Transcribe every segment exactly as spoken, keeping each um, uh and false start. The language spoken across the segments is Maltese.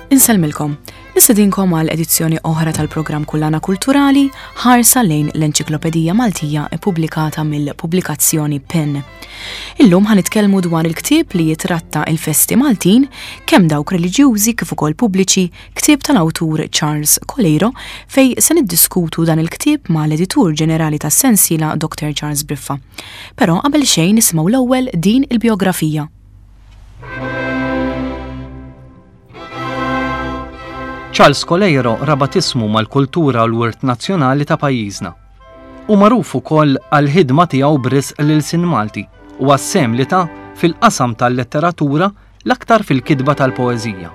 Insellmilkom. Nistedinkom għal edizzjoni oħra tal-programm Kullana Kulturali, ħarsa lejn l-Enċiklopedija Maltija ippubblikata mill-pubblikazzjoni PEN. Illum ħa nitkellmu dwar il-ktieb li jitratta il-festi Maltin, kemm dawk reliġjużi kif ukoll pubbliċi, ktieb tal-awtur Charles Coleiro, fej se niddiskutu dan il-ktieb mal-editur ġenerali tas-sensiela Doctor Charles Briffa. Però qabel xejn nisimgħu l-ewwel din il-biografija. Charles Coleiro rabat ismu mal-kultura u l-wirt nazzjonali ta' pajjiżna. U magħruf ukoll għall-ħidma tiegħu b'risq l-ilsien Malti u għas-sehem li ta fil-qasam tal-letteratura, l-aktar fil-kitba tal-poeżija.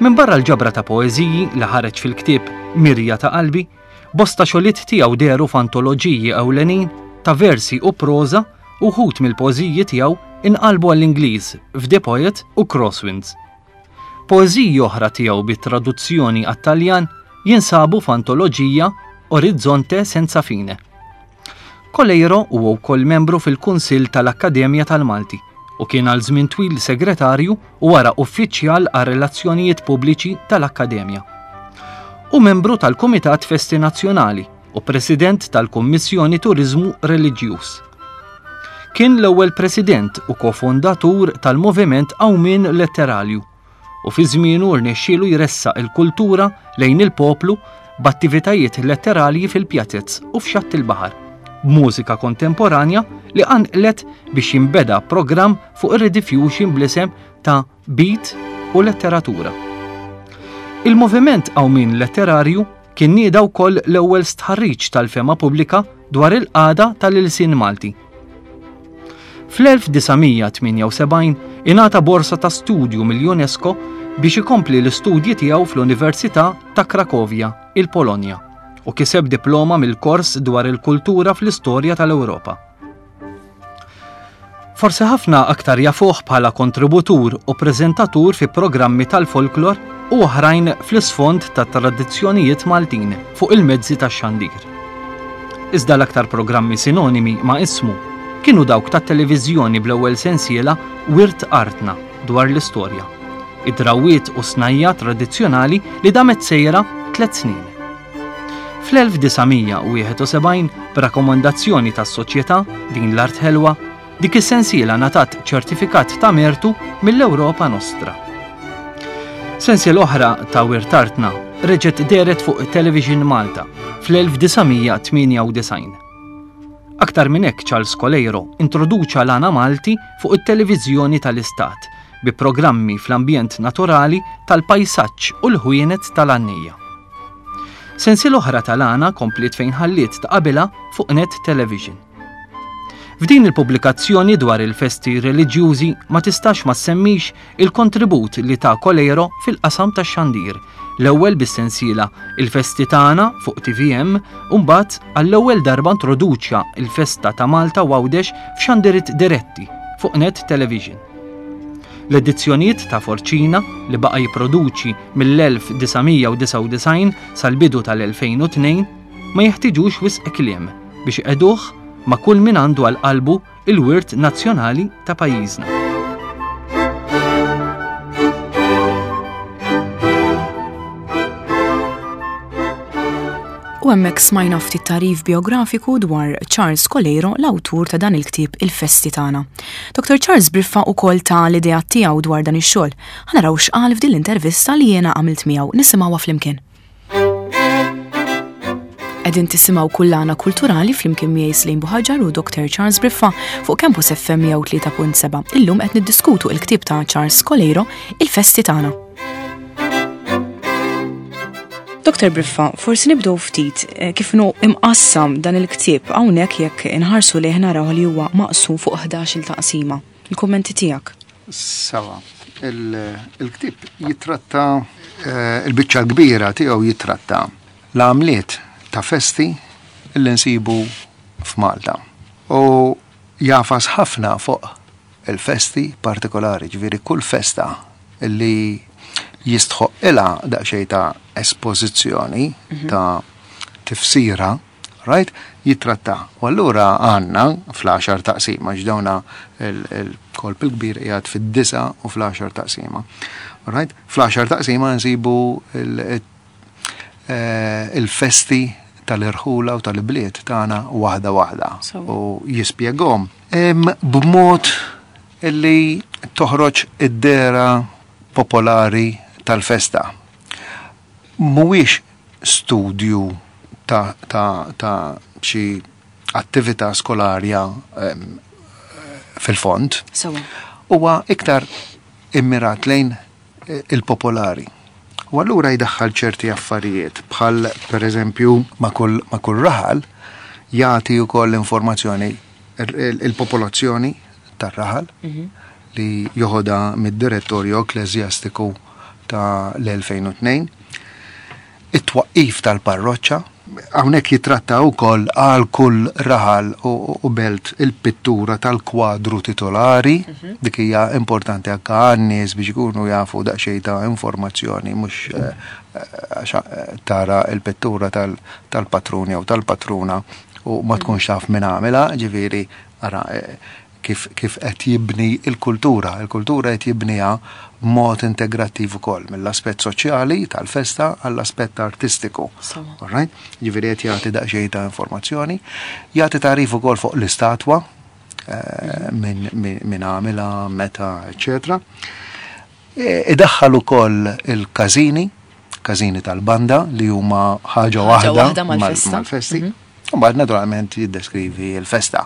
Minbarra l-ġabra ta' poeżiji li ħareġ fil-ktieb Mirja ta' Qalbi, bosta xogħlijiet tiegħu dehru f'antoloġiji ewlenin ta' versi u proża u wħud mill-poeżiji tiegħu inqalbu għall-Ingliż f'The Poet u Crosswinds. Poeżiji oħra tiegħu bit-traduzzjoni għat-Taljan jinsabu f'antoloġija Orizzonte Senza Fine. Coleiro huwa wkoll membru fil-Kunsill tal-Akkademja tal-Malti u kien għal żmien twil segretarju u wara uffiċjal għar relazzjonijiet pubbliċi tal-Akkademja. U membru tal-Kumitat Festi Nazzjonali u President tal-Kummissjoni Turiżmu Reliġjuż. Kien l-ewwel president u kofondatur tal-Moviment Qawmien Letterarju u fi żmienu rnexxielu jressaq il-kultura lejn il-poplu b'attivitajiet letterarji fil-pjazez u f'xatt il-baħar, b'mużika kontemporanja li qanqlet biex jinbeda programm fuq ir-Rediffusion bl-isem ta' Beat u Letteratura. Il-Moviment Qawmien Letterarju kien nieda wkoll l-ewwel stħarriġ tal-fema pubblika dwar il-qagħda tal-ilsien Malti. Fl-elf disa' mija tmienja u sebgħin ingħata borsa ta' studju mill-UNESCO biex ikompli l-istudji tiegħu fl-Università ta' Krakovja, il-Polonja, u kiseb diploma mill-kors dwar il-kultura fl-istorja tal-Ewropa. Forsi ħafna aktar jafuh bħala kontributur u preżentatur fi programmi tal-folklor u oħrajn fl-isfond ta' tradizzjonijiet Maltin fuq il-mezzi tax-xandir. Iżda l-aktar programmi sinonimi ma' ismu kienu dawk tat-televiżjoni bl-ewwel sensiela Wirt Artna dwar l-istorja, id-drawwiet u snajja tradizzjonali li damet sejra tliet snin. Fl-elf disa' mija u wieħed u sebgħin, b'rakkomandazzjoni tas-soċjetà Din l-Art Ħelwa, dik is-sensiela ngħatat ċertifikat ta' mertu mill-Ewropa Nostra. Sensiela oħra ta' Wirt Artna reġgħet dehret fuq Television Malta fl-elf disa' mija tmienja u disgħin. Aktar minn hekk Charles Coleiro introduċa l-għana Malti fuq it-televiżjoni tal-Istat bi programmi fl-ambjent naturali tal-pajsaġġ u l-ħwienet tal-għannija. Sensiela oħra tal-għana kompliet fejn ħalliet ta' qabilha fuq Net Television. F'din il-pubblikazzjoni dwar il-festi reliġjużi ma tistax ma semmix il-kontribut li ta' Coleiro fil-qasam tax-xandir, l-ewwel bis-sensiela Il-Festi Tagħna fuq T V M u mbagħad għall-ewwel darba introduċja il-festa ta' Malta u Għawdex f'xandiriet diretti fuq Net Television. L-edizzjonijiet ta' Forċina li baqa' jipproduċi mill-elf disa' mija u disgħa u disgħin sal-bidu tal-elfejn u tnejn ma jeħtiġux wisq kliem biex iqegħduh ma' kull min għandu għal qalbu il-wirt nazzjonali ta' pajjiżna. U hemmhekk smajna ftit tagħrif biografiku dwar Charles Coleiro, l-awtur ta' dan il-ktieb Il-Festi Tagħna. Doctor Charles Briffa ukoll ta l-idea tiegħu dwar dan ix-xogħol. Ħa naraw x'qal f'din l-intervista li jiena għamilt miegħu, nisimgħuha flimkien. Qegħdin tisimgħu Kullana Kulturali flimkien miegħi Slim Buhaġar u Doctor Charles Briffa fuq Campus F M mija u tlieta punt seba'. Illum qed niddiskutu l-ktieb ta' Charles Coleiro, Il-Festi Tagħna. Doctor Briffa, forsi nibdew ftit, eh, kif inhu imqassam dan il-ktieb hawnhekk jekk inħarsu lejh naraw li huwa maqsum fuq ħdax-il taqsima. Il-kummenti tiegħek? Sawa, il-, il-ktieb jitratta, eh, il-biċċa l-kbira tiegħu jitratta l-għamliet ta' festi li nsibu f'Malta. U jafas ħafna fuq il-festi partikolari, ġifieri kull festa li jistħoq ilha daqsxejn ta' espożizzjoni, Mhm. ta' tifsira Right? Jitratta. U allura għandna fl-għaxar taqsima, ġdawna il-kolp il-kbir qiegħed fid-disa u fl-għaxar taqsima. Right? Fl-għaxar taqsima nsibu eh, il-festi tal-irħula u tal-bliet tagħna waħda waħda. U jispjegahom b'mod illi toħroġ id-dehra popolari tal-festa. Mhuwiex studju ta', ta, ta xi attività skolarja fil-fond. Huwa iktar immirat lejn eh, il-popolari. U allura jdaħħal ċerti affarijiet bħal per eżempju ma' kull, ma kull raħal jagħti wkoll informazzjoni il-popolazzjoni tar-raħal mm -hmm. li joħodha mid-direttorju ekkleżjastiku ta' l-elfejn u tnejn, it-twaqqif tal-parroċċa, hawnhekk jitratta wkoll għal kull raħal u, u belt il-pittura tal-kwadru titolari, mm -hmm. dik hija importanti anke għan-nies biex ikunu jafu daqsxejn ta' informazzjoni, mhux eh, eh, tara il-pittura tal-patrun jew tal-patruna u ma tkunx taf min għamilha, ġifieri ara eh, kif kif qed jibni il-kultura. Il-kultura qed jibniha b'mod integrattiv ukoll mill-aspett soċjali tal-festa għall-aspett artistiku. All right? Ġifieri qed jagħti daqsxejn ta' informazzjoni, jagħti tagħrif ukoll fuq l-istatwa eh, minn min għamilha, meta, eċċetera. E, idaħħal ukoll il-każini, każini tal-banda li huma ħaġa waħda mal-festi. Mhm. Mbagħad naturalment jiddeskrivi l-festa.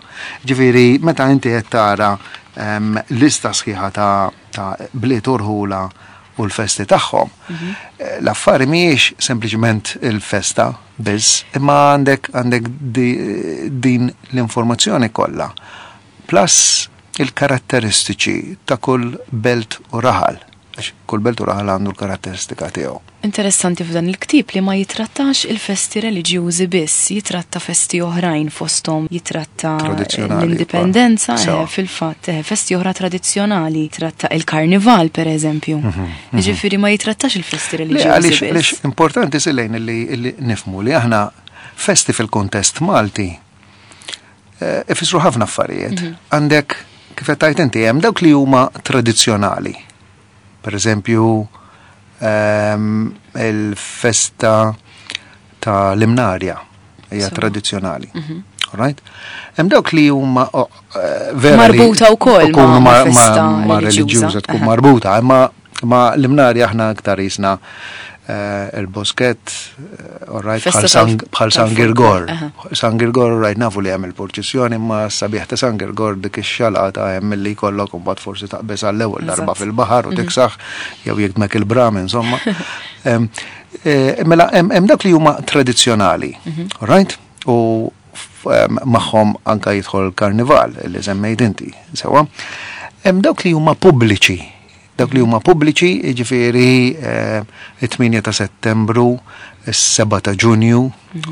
Ġifieri meta inti qed tara um, lista sħiħa ta', ta bliet urħula u l-festi tagħhom, mm -hmm. l-affari mhijiex sempliċement il-festa biss, imma għandek għandek di, din l-informazzjoni kollha. Plus il-karatteristiċi ta' kull belt u raħal. Għax kull belt u raħal għandu l-karatteristika tiegħu. Interessanti f'dan il-ktieb li ma jitrattax il-festi reliġjużi biss, jitratta festi oħrajn fosthom, jitratta l-indipendenza, eh, fil-fatt, eh, festi oħra tradizzjonali, jitratta il-karnival per eżempju. Mhm, mhm. Jiġifieri ma jitrattax il-festi reliġjużi biss. Għaliex importanti silejn li nifhmu li aħna festi fil-kontest Malti eh, ifissru ħafna affarijiet. Mhm. Għandek kif qed tgħid inti hemm dawk li huma tradizzjonali. Per eżempju, um, il-festa ta' l-Imnarja hija tradizzjonali. Mm -hmm. Right? Hemm dawk li huma oh, vera marbuta wkoll ma, ma, ma, ma reliġjuża tkun marbuta, imma ma l-Imnarja aħna aktar jisna uh, il-Bosket, uh, right, bħal San Girgor. San Girgor, right, nafu li hemm il-purċissjoni, ma sabiħ ta' San Girgor dik ix-xalata hemm li jkollok u mbagħad forsi taqbeż għall-ewwel darba fil-baħar u tiksaħ jew jikmek il-bram, insomma. Mela hemm dak li huma tradizzjonali, right? U magħhom anka jidħol il-karnival li semmejt inti, sewa. Hemm dawk li huma pubbliċi. Dawk li huma pubbliċi, jiġifieri it-tmienja ta' Settembru, is-seba' ta' Ġunju,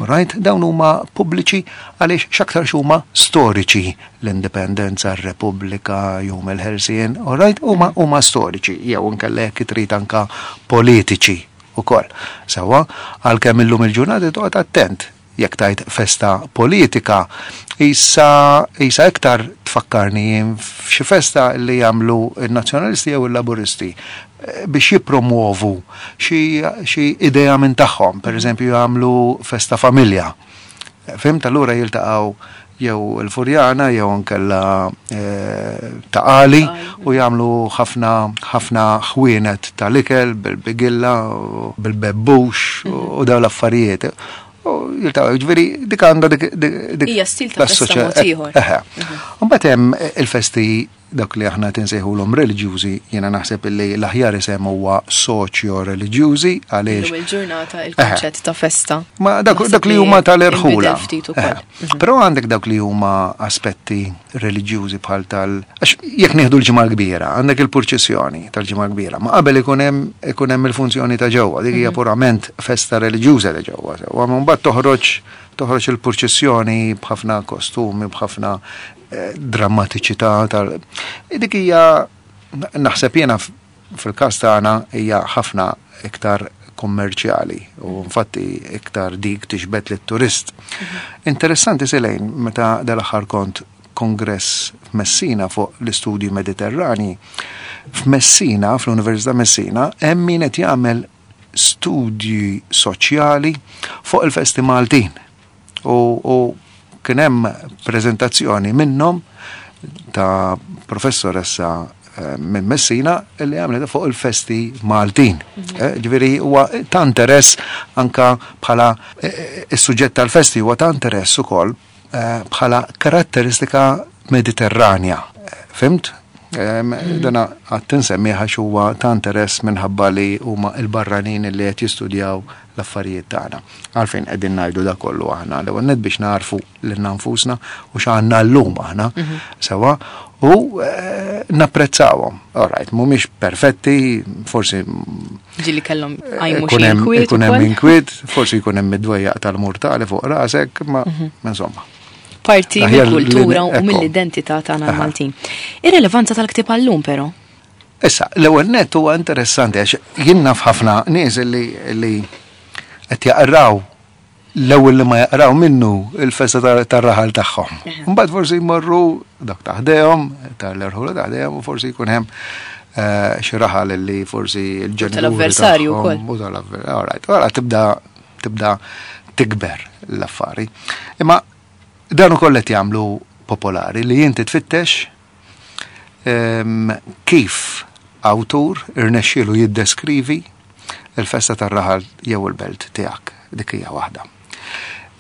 right? Dawn huma pubbliċi għaliex x'aktarx huma storiċi, l-Indipendenza, r-Repubblika, Jum il-Ħelsien, right? Huma huma storiċi, jew inkella jekk trid anka politiċi ukoll. Sewwa, għalkemm illum il-ġurnata toqgħod attent jekk tajt festa politika, issa issa iktar tfakkarni jien f'xi festa li jagħmlu n-nazzjonalisti jew il-laburisti biex jippromuovu xi idea minn tagħhom, per eżempju jagħmlu festa familja. Fhimt? Allura jiltaqgħu jew il-Furjana jew inkella ta' Qali u jagħmlu ħafna ħafna ħwienet tal-ikel bil-bigilla, bil-bebbux u dawn l-affarijiet. U jiltaqgħu, ġifieri dik għandha dik dik Hija stil ta' festa mod ieħor. Eħe. Mbagħad hemm il-festi dak li aħna tinsejħulhom reliġjużi, jiena naħseb illi l-aħjar isem huwa soċjo-reliġjużi għaliex. Illum il-ġurnata il-kunċett ta' festa. Ma dak dak li huma tal-irħula. Però għandek dawk li huma aspetti reliġjużi bħal tal għax jekk nieħdu l-Ġimgħa l-Kbira, għandek il-purċissjoni tal-Ġimgħa l-Kbira, ma qabel ikun hemm ikun hemm il-funzjoni ta' ġewwa, dik hija purament festa reliġjuża ta' ġewwa. U mbagħad toħroġ toħroġ il-purċissjoni b'ħafna kostumi, b'ħafna drammatiċità tal dik hija naħseb jiena fil-każ tagħna hija ħafna iktar kummerċjali u infatti iktar dik tixbet lit-turist. Interessanti Selejn, meta dal-aħħar kont kongress f'Messina fuq l-istudji Mediterrani, f'Messina, fl-Università Messina, hemm min qed jagħmel studji soċjali fuq il-festi Maltin. U, u kien hemm preżentazzjoni minnhom ta' professoressa eh, minn Messina li għamlet fuq il-festi Maltin. Eh, Ġifieri huwa ta' interess anka bħala eh, is-suġġett tal-festi huwa ta' interess ukoll eh, bħala karatteristika mediterranja. Eh, Fhimt? Em, Dana għad insemmiha huwa ta' interess minħabba li huma il-barranin li qed jistudjaw l-affarijiet tagħna. Għalfejn qegħdin ngħidu da kollu aħna? L-ewwel nett biex narfu lilna nfusna u x'għandna llum aħna sewa u eh, napprezzawhom. All right, mhumiex perfetti, forsi Ġieli kellhom qajmu ikun xi hemm inkwiet ikun hemm ukoll. inkwiet, forsi jkun hemm id-dwejjaq tal-murtali fuq rasek, ma ma insomma. Parti Aħjar li- mill-kultura u ekku. mill-identità tagħna Aha. l-Maltin. Ir-relevanza tal-ktieb għallum però. Issa, l-ewwel nett huwa interessanti għax jien naf ħafna nies li li qed jaqraw, l-ewwel li ma jaqraw minnu il-festa tar- tar-raħal tagħhom. Mbagħad forsi jmorru dak ta' ħdejhom, tal-irħula ta' ħdejhom u forsi jkun hemm eh, xi raħal li forsi l-ġenituri Tal-avversarju tagħhom wkoll. U tal-avver- all right, Ora tibda tibda tikber l-affari. Imma dan ukoll qed jagħmlu popolari li inti tfittex em, kif awtur irnexxielu jiddeskrivi il-festa tar-raħal jew il-belt tiegħek. Dik hija waħda.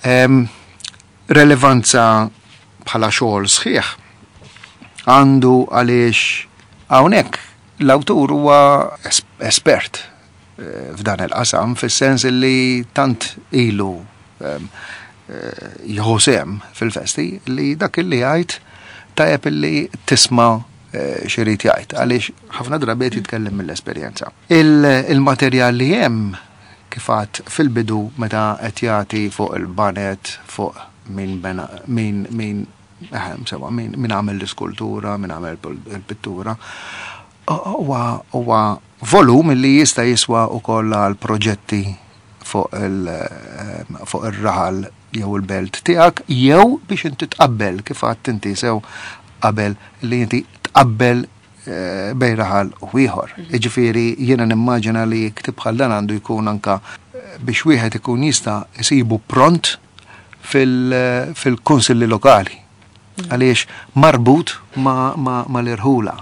Em, Relevanza bħala xogħol sħiħ għandu għaliex hawnhekk l-awtur huwa es- espert eh, f'dan il-qasam, fis-sens li tant ilu em, eh, jieħu sehem fil-festi li dak illi jgħid tajjeb illi tisma' eh, x'irid jgħid għaliex ħafna drabi qed jitkellem mill-esperjenza. Il- Il-materjal li hemm, kif għedt fil-bidu, meta qed jagħti fuq il-banet, fuq min bena, min min eh, sewa, min min għamel l-iskultura, min għamel il-pittura, huwa huwa volum li jista' jiswa wkoll għal proġetti fuq il eh, fuq ir-raħal jew il-belt tiegħek jew biex inti tqabbel, kif għedt inti sew qabel, li inti tqabbel eh, bejn raħal u ieħor. Jiġifieri jiena nimmaġina li ktieb bħal dan għandu jkun anka eh, biex wieħed ikun jista' isibu pront fil- fil-kunsilli lokali. Għaliex marbut ma, ma, ma l-irħula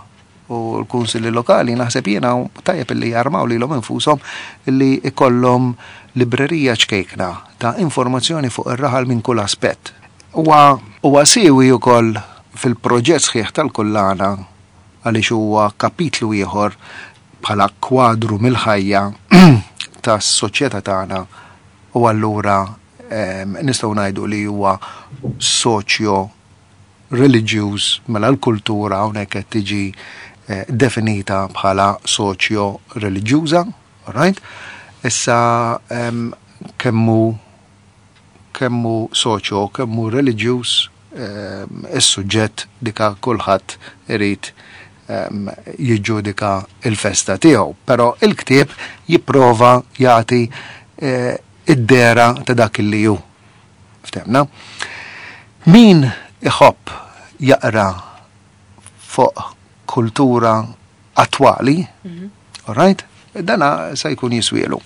u l-kunsilli lokali, naħseb jiena tajjeb li jarmaw lilhom infushom li ikollhom librerija ċkejkna ta' informazzjoni fuq ir-raħal minn kull aspett. Huwa huwa siwi wkoll fil-proġett sħiħ tal-kullana għaliex huwa kapitlu ieħor bħala kwadru mill-ħajja tas-soċjetà tagħna u allura em, nistgħu ngħidu li huwa soċjo reliġjuż. Mela l-kultura hawnhekk qed tiġi eh, definita bħala soċjo reliġjuża, right? Issa em, kemmu kemmu soċjo, kemmu reliġjuż em, is-suġġett dika kulħadd irid em, jiġġudika il-festa tiegħu, però il-ktieb jipprova jagħti eh, id-dera ta' dak li hu. Ftehmna? Min iħobb jaqra fuq kultura attwali, all right? Dana se jkun jiswielu.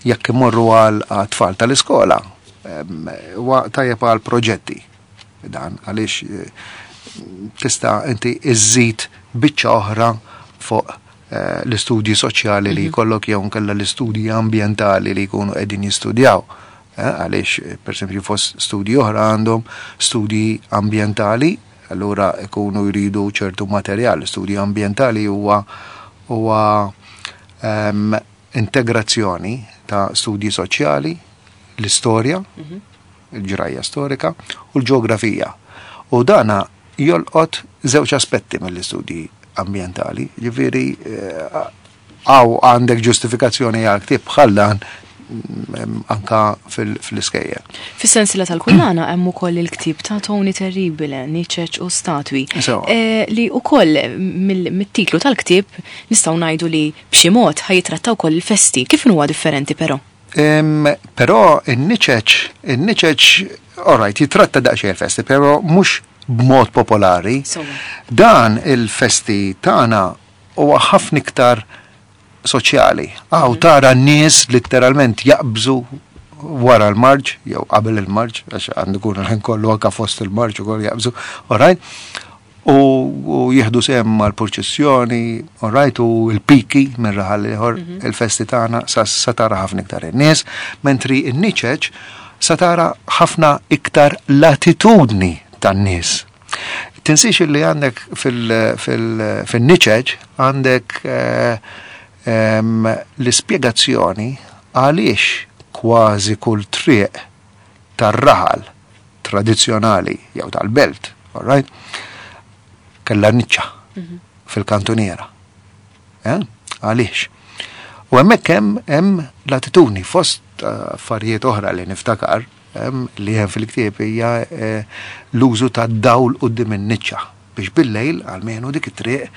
Jekk imorru għal tfal tal-iskola, em, huwa tajjeb għal proġetti. Dan għaliex eh, tista' inti iżżid biċċa oħra fuq eh, l-istudji soċjali li jkollok jew nkella l-istudji ambjentali li jkunu qegħdin jistudjaw. Eh, Għaliex, eh, per esempio, fost studji oħra għandhom studji ambjentali, allura ikunu jridu ċertu materjal. Studji ambjentali huwa huwa em, integrazzjoni ta' studji soċjali, l-istorja, il-ġrajja storika u l-ġeografija. U dana jolqot żewġ aspetti mill-istudji ambjentali. Ġifieri, eh, għaw għandek ġustifikazzjoni għal ktieb bħal dan. anka fil-iskejjel. Fis-sensiela tal-kullana hemm ukoll il-ktieb ta' Tony Terribile, Niċeċ u Statwi, li ukoll mit-titlu tal-ktieb nistgħu ngħidu li b'xi mod ħa jitratta wkoll il-festi. Kif huwa differenti però? Però in-niċeċ, in-niċeċ, all right, jitratta daqsxejn il-festi, però mhux b'mod popolari. Dan il-festi tagħna huwa ħafna iktar soċjali. Għaw tara n-nies letteralment jaqbżu wara l-marġ, jew qabel il-marġ, għax għandu kun l-ħin kollu anka fost il-marġ ukoll jaqbżu, all right? U jieħdu sehem mal-purċissjoni, all right, u l-piki minn raħal ieħor, il-festi tagħna sa tara ħafna iktar in-nies, mentri n-niċeċ sa tara ħafna iktar l-attitudni tan-nies. Tinsiex li għandek fil-niċeċ għandek l-ispjegazzjoni għaliex kważi kull triq tar-raħal tradizzjonali jew tal-belt, all right, kellha niċċa fil-kantuniera. Għaliex? U hemmhekk hemm hemm l-attitudni fost affarijiet oħra li niftakar li hemm fil-ktieb hija l-użu tad-dawl quddiem in-niċċa biex bil-lejl għalmenu dik it-triq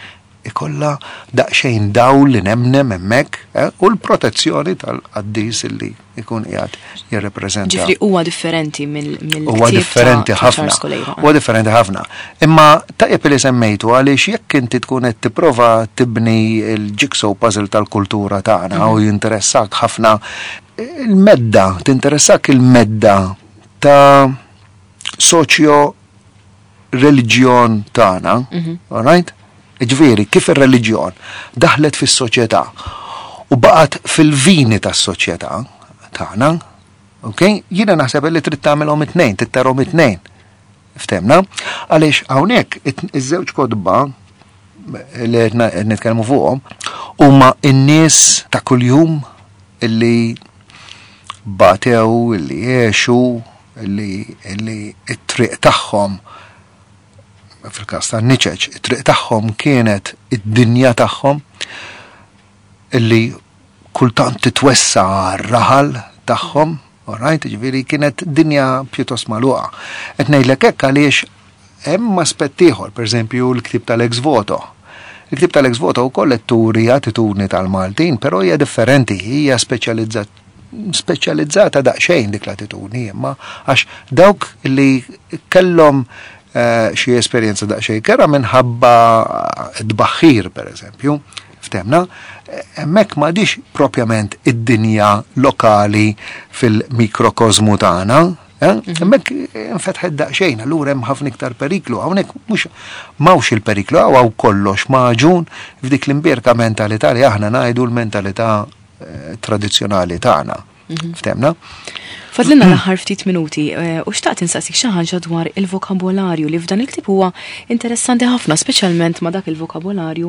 ikolla daqsxejn dawl li nemnem hemmhekk u l-protezzjoni tal-qaddis li jkun qiegħed jirrepreżenta. Ġifieri huwa differenti mill Huwa differenti ħafna. Huwa differenti ħafna. Imma tajjeb li semmejtu għaliex jekk inti tkun qed tipprova tibni l-jigsaw puzzle tal-kultura tagħna u jinteressak ħafna il-medda, tinteressak il-medda ta' soċjo reliġjon tagħna, all right? Ġifieri, kif ir-reliġjon daħlet fis-soċjetà u baqgħet fil-vini tas-soċjetà tagħna, ok? Jiena naħseb li trid tagħmelhom it-tnejn, trid tarhom it-tnejn. Ftemna? Għaliex hawnhekk iż-żewġ kotba li qed nitkellmu fuqhom huma n-nies ta' kuljum illi batew, illi għexu, illi illi t-triq tagħhom fil-każ tan-niċeċ, it-triq tagħhom kienet id-dinja tagħhom illi kultant titwessa r-raħal tagħhom, all right, ġifieri kienet dinja pjuttost magħluqa. Qed ngħidlek hekk għaliex hemm aspett ieħor, pereżempju l-ktieb tal-ex voto. Il-ktieb tal-ex voto wkoll qed turi attitudni tal-Maltin, però hija differenti, hija speċjalizzata speċjalizzata daqsxejn dik l-attitudni, imma għax dawk li kellhom xi esperjenza daqsxejn kera minħabba tbaħħir pereżempju, ftemna, hemmhekk m'għadix propjament id-dinja lokali fil-mikrokosmu tagħna, hemmhekk infetħet daqsxejn, allura hemm ħafna iktar periklu, hawnhekk mhux m'hawnx il-periklu, hawn kollox maġun f'dik l-imbierka mentalità li aħna ngħidu l-mentalità tradizzjonali tagħna. Ftemna? Fadlilna l-aħħar ftit minuti u xtaqt insaqsik xi ħaġa dwar il-vokabolarju li f'dan il-ktieb huwa interessanti ħafna, speċjalment ma' dak il-vokabolarju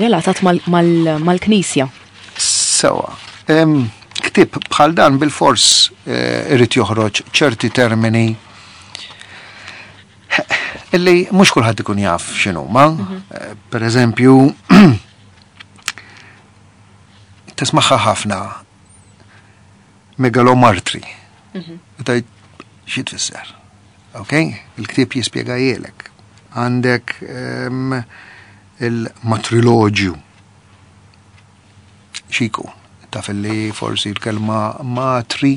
relatat mal-Knisja. Sewa, ktieb bħal dan bil-fors irid joħroġ ċerti termini illi mhux kulħadd ikun jaf x'inhuma. Per eżempju, tismaħħa ħafna megalomartri. Tajt, xi tfisser? Ok? Il-ktieb jispjegajielek. Għandek il-matriloġju. Xiku, taf li forsi l-kelma matri,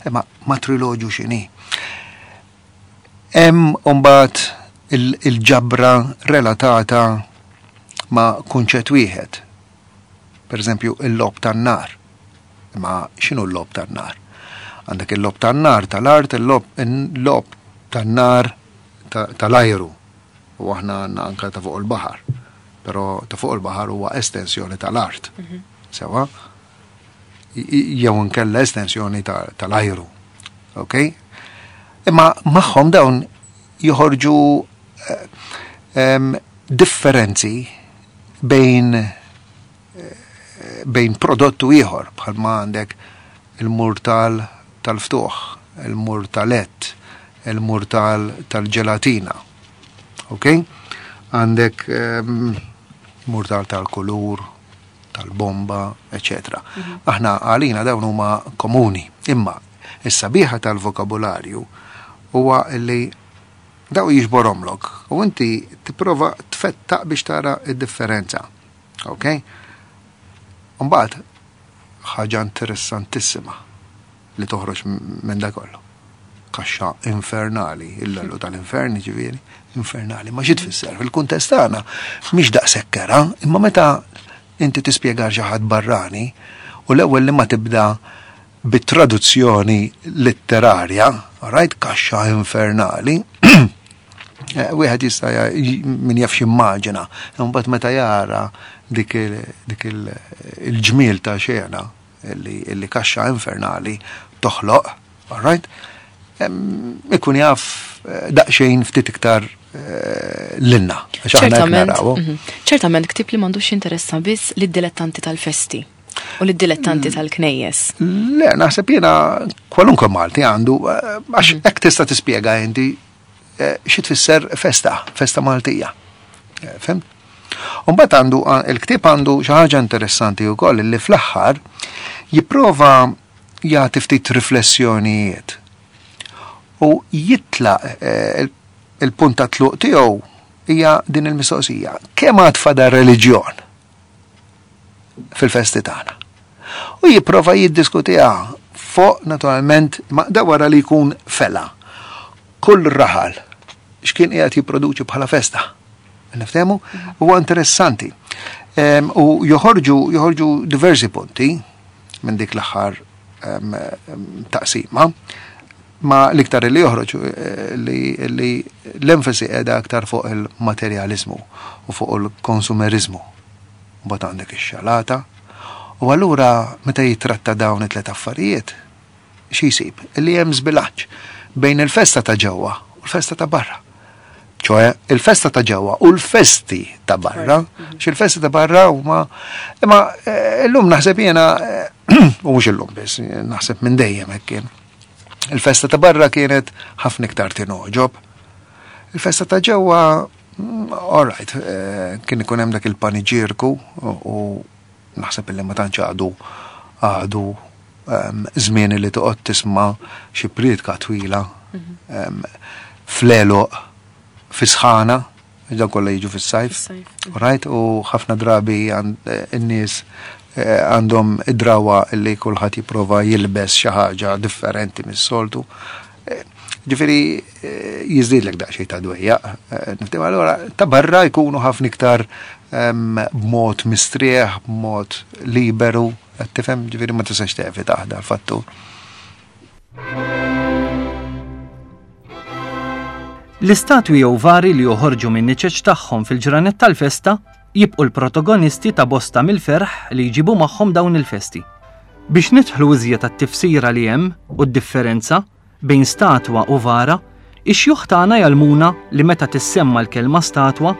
imma matriloġju x'inhi. Hemm mbagħad il-ġabra relatata ma' kunċett wieħed. Per eżempju, il-lob tan-nar. Imma x'inhu l-lob tan-nar? Għandek il-lob tan-nar tal-art, il-lob tan-nar tal-ajru. U aħna għandna anka ta' fuq il-baħar. Però ta' fuq il-baħar huwa estensjoni tal-art. Sewa? Jew inkella estensjoni tal-ajru. Ok? Imma magħhom dawn joħorġu differenzi bejn bejn prodott u ieħor, bħalma għandek il-murtal tal-ftuħ, il-murtalett, il-murtal tal-ġelatina. Ok? Għandek murtal tal-kulur, tal-bomba, eċetera. Aħna għalina dawn huma komuni, imma is-sabiħa tal-vokabularju huwa li daw jiġborhomlok u inti tipprova tfettaq biex tara id-differenza. Ok? Mbagħad ħaġa interessantissima li toħroġ minn da kollu. Kaxxa infernali, il-lallu tal-infern ġifieri, infernali. Ma xi tfisser fil-kuntest tagħna mhix daqshekk kera, imma meta inti tispjega xi ħadd barrani u l-ewwel li ma tibda bit-traduzzjoni letterarja, right, kaxxa infernali, eh, wieħed jista' min jaf x'immaġina, imbagħad meta jara dik il-ġmiel ta' xena li kaxxa infernali toħloq, all right, ikun jaf eh, daqsxejn ftit iktar eh, lilna. Ċertament, mhm. ċertament ktieb li m'għandux jinteressa biss lid-dilettanti tal-festi u lid-dilettanti mm. tal-knejjes. Le, naħseb jiena kwalunkwe Malti għandu, eh, għax mhm. hekk tista' tispjega inti xi tfisser festa, festa Maltija. Fhimt? Umbagħad għandu il-ktieb għandu xi ħaġa interessanti wkoll li fl-aħħar jipprova jagħti ftit riflessjonijiet u jitlaq eh, il-punt ta' tluq tiegħu hija din il-mistoqsija. Kemm għad fadal reliġjon fil-festi tagħna? U jipprova jiddiskutiha fuq naturalment ma da wara li jkun fela. Kull raħal x'kien qiegħed jipproduċi bħala festa. Niftehmu? Huwa interessanti. U joħorġu joħorġu diversi punti minn dik l-aħħar taqsima ma l-iktar li joħroġ eh, li, li l-enfasi qiegħda aktar fuq il-materjalizmu u fuq il-konsumerizmu. Mbagħad għandek ix-xalata. U allura meta jitratta dawn it-tlet affarijiet, xi jsib? Li hemm żbilanċ bejn il-festa ta' ġewwa u l-festa ta' barra. ċoè, il-festa ta' ġewwa u l-festi ta' barra, xi il-festi ta' barra huma imma eh, illum naħseb jiena eh, u mhux illum biss, naħseb minn dejjem hekk kien. Il-festa ta' barra kienet ħafna iktar tingħoġob. Il-festa ta' ġewwa, mm, all right, eh, kien ikun hemm dak il-paniġierku u naħseb illi ma tantx għadu għadu em, żmien li toqgħod tisma' xi priedka twila em, fl-għeluq fi sħana, dan kollha jiġu fis-sajf. Fis-sajf. Right, u ħafna drabi għand- eh, in-nies eh, għandhom id-drawa li kulħadd jipprova jilbes xi ħaġa differenti mis-soltu. Eh, Ġifieri eh, jiżdiedlek daqsxejn ta' dwejjaq. eh, Niftim allura ta' barra jkunu ħafna iktar em, b'mod mistrieħ, b'mod liberu, qed tifhem, ġifieri ma tistax tevita l-fattur. L-istatwi jew vari li joħorġu minn niċeċ tagħhom fil-ġranet tal-festa jibqu l-protagonisti ta' bosta mill-ferħ li jġibu magħhom dawn il-festi. Biex nidħlu iżjed għat-tifsira li hemm u d-differenza bejn statwa u vara, ix-xjuħ tagħna jgħallmuna li meta tissemma l-kelma statwa,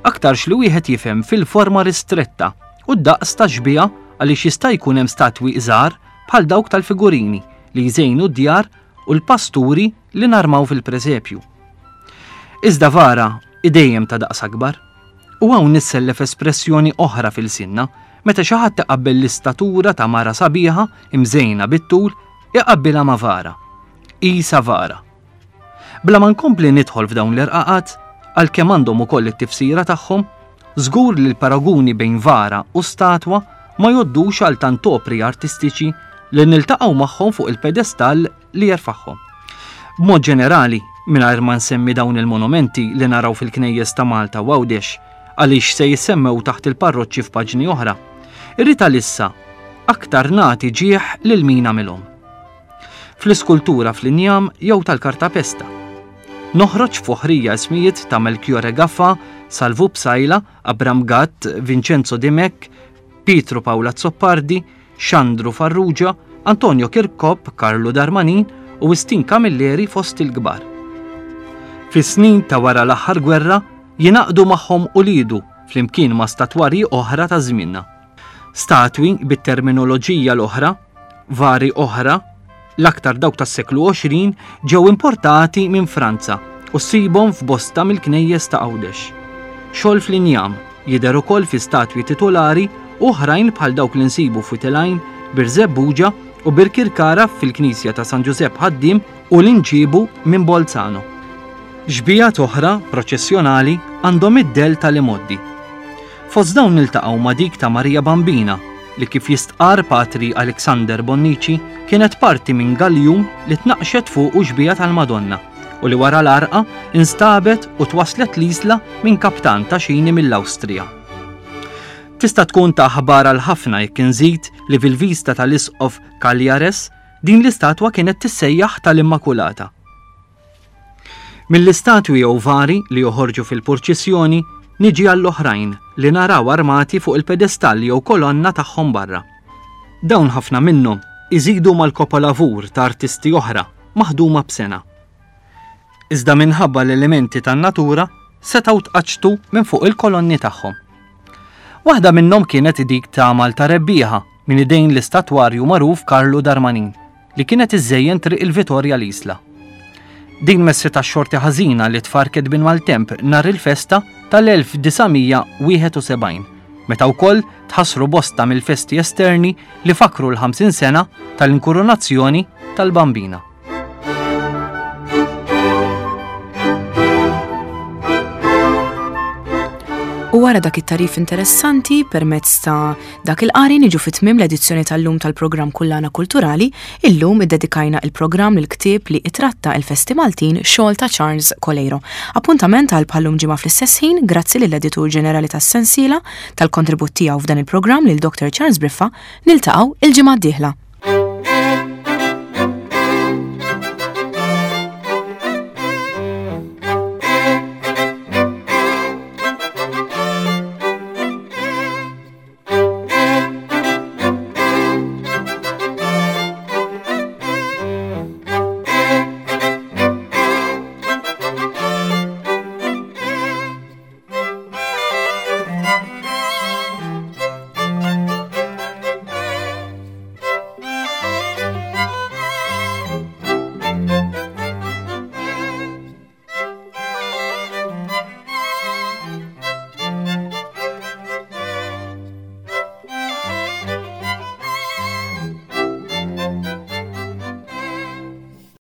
aktarx li wieħed jifhem fil-forma ristretta u d-daqs ta' xbieha għaliex jista' jkun hemm statwi żgħar bħal dawk tal-figurini li jżejnu d-djar u l-pasturi li narmaw fil-presepju. Iżda vara idejjem ta' daqs akbar. U hawn nissellef espressjoni oħra fil-sinna meta xi ħadd iqabbel l-istatura ta' mara sabiħa imżejna bit-tul iqabbilha ma' vara. Isa vara. Bla ma nkompli nidħol f'dawn l-irqaqat, għalkemm għandhom ukoll it-tifsira tagħhom, żgur li l-paraguni bejn vara u statwa ma joddux għal tant opri artistiċi li niltaqgħu magħhom fuq il-pedestall li jerfagħhom. B'mod ġenerali, mingħajr ma nsemmi dawn il-monumenti li naraw fil-knejjes ta' Malta u Għawdex, għaliex se jissemmew taħt il-parroċċi f'paġni oħra, irrid għalissa aktar nagħti ġieħ lil min għamilhom. Fl-iskultura fl-injam jew tal-kartapesta. Noħroġ foħrija ismijiet ta' Melchiorre Gaffa, Salvu Psaila, Abram Gatt, Vincenzo Dimech, Pietro Paolo Azzopardi, Xandru Farrugia, Antonio Kirkop, Carlo Darmanin u Wistin Camilleri fost il-kbar. Fis-snin ta' wara l-aħħar gwerra jingħaqdu magħhom ulidu flimkien ma' statwarji oħra ta' żmienna. Statwi bit-terminoloġija l-oħra, vari oħra, l-aktar dawk tas-seklu għoxrin ġew importati minn Franza u ssibhom f'bosta mill-knejjes ta' Għawdex. Xogħol fl-injam jidher ukoll fi statwi titolari Oħrajn bħal dawk li nsibu f'Wied il-Għajn, Birżebbuġa u Birkirkara fil-Knisja ta' San Ġużepp Ħaddiem u li nġiebu minn Bolzano. Xbihat oħra proċessjonali għandhom id-dell tal-imgħoddi. Fost dawn niltaqgħu ma' dik ta' Marija Bambina li kif jistqar Patri Alexander Bonnici kienet parti minn galjun li tnaqqxet fuqu xbieha tal-Madonna u li wara l-għarqa instabet u twaslet l-Isla minn kaptan ta' xini mill-Awstrija. Tista' tkun ta' aħbar għal ħafna jekk inżid li fil-vista tal-Isqof Cagliares din l-istatwa kienet tissejjaħ tal-Immakulata. Mill-istatwi jew vari li joħorġu fil-purċissjoni niġi għall-oħrajn li naraw armati fuq il-pedestall jew kolonna tagħhom barra. Dawn ħafna minnhom iżidu mal-kopolavur ta' artisti oħra maħduma b'sengħa. Iżda minħabba l-elementi tan-natura setgħu tqaċċtu minn fuq il-kolonni tagħhom. Waħda minnhom kienet dik ta' Malta Rebbieħa minn idejn l-istatwarju magħruf Karlu Darmanin li kienet iżżejjen triq il-Vitorja l-Isla. Din messitha x-xorti ħażina li tfarket bin maltemp nhar il-festa tal-elf disa' mija wieħed u sebgħin, meta wkoll tħassru bosta mill-festi esterni li fakru l-ħamsin sena tal-inkurunazzjoni tal-Bambina. U wara dak it-tarif interessanti permezz ta' dak il-qari niġu fi tmiem l-edizzjoni tal-lum tal-programm Kullana Kulturali. Illum iddedikajna il-programm lil ktieb li itratta il-festi Maltin, xogħol ta' Charles Coleiro. Appuntament għal bħallum ġimgħa fl-istess ħin, grazzi lill-editur ġenerali tas-sensiela tal-kontribut tiegħu f'dan il-programm lil Doctor Charles Briffa, niltaqgħu il-ġimgħa d-dieħla.